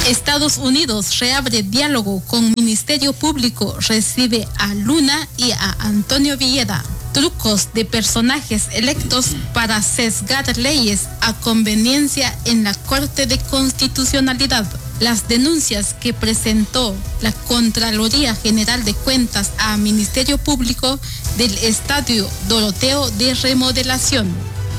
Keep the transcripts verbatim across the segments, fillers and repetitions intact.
Estados Unidos reabre diálogo con Ministerio Público, recibe a Luna y a Antonio Villeda. Trucos de personajes electos para sesgar leyes a conveniencia en la Corte de Constitucionalidad. Las denuncias que presentó la Contraloría General de Cuentas a Ministerio Público del Estadio Doroteo de Remodelación.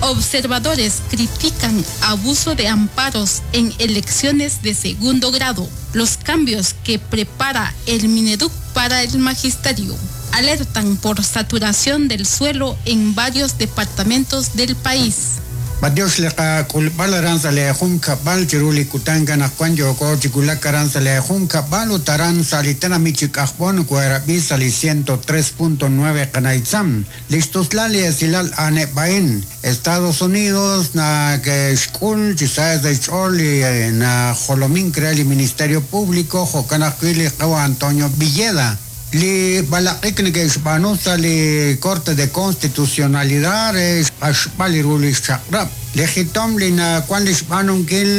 Observadores critican abuso de amparos en elecciones de segundo grado. Los cambios que prepara el Mineduc para el magisterio. Alertan por saturación del suelo en varios departamentos del país. Badios leqa k'ulb'al aran sa li jun kab'al chiru li kutan kanaqwan yooko chikulak aran sa li jun kab'al ut aran sa li tenamit chik'ajb'on kuerab'i sa li ciento tres punto nueve qanaitzam. Li xtuslal li esilal aneb'ain Estados Unidos na ke xk'ul chi sa sa xch'ool li na jolomin re li Ministerio Público jo'kan ajwi' li qawa Antonio Villeda. Li balaq'ik neke'xb'aanu sa li Corte de Constitucionalidad re xq'axb'al li ru li xchaq'rab'. Li jitom li nawan li xb'aanunkil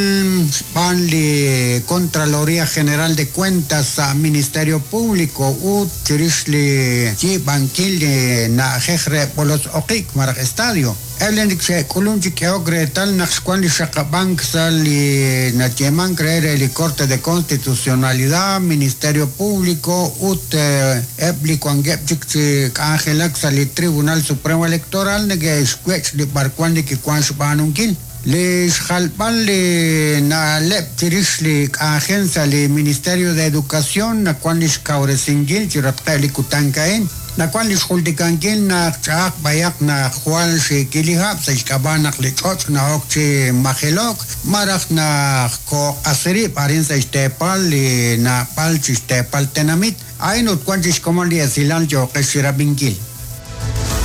xb'aan li Contraloría General de Cuentas sa Ministerio Público ut chirix li yiib'ankil li na'ajej re b'olos oqik maraj estadio. Eb' li xe'k'ulun chi k'ehok reetal naq xwan li xaqab'ank sa li nayeemank re re li Corte de Constitucionalidad, Ministerio Público ut eb' li wankeb' chik chi k'anjelak sa li Tribunal Supremo Electoral neke'xwech' li b'arwan li kiwan xb'aanunkil. Li xjalb'al li na'leb' chirix li k'anjel sa li Ministerio de Educación nawan li xkawresinkil chi ratqe' li kutan ka'in. Nawan li xjultikankil naq ch'a'aq b'ayaq naq jwal xikilihab' sa xk'ab'a' naq li ch'och' na'ok chi majelok maraj naq koq'asirib' arin sa xteepal li na'b'al chi xteepal tenamit. A'in ut wan chi xkomon li esilal yooqex xirab'inkil.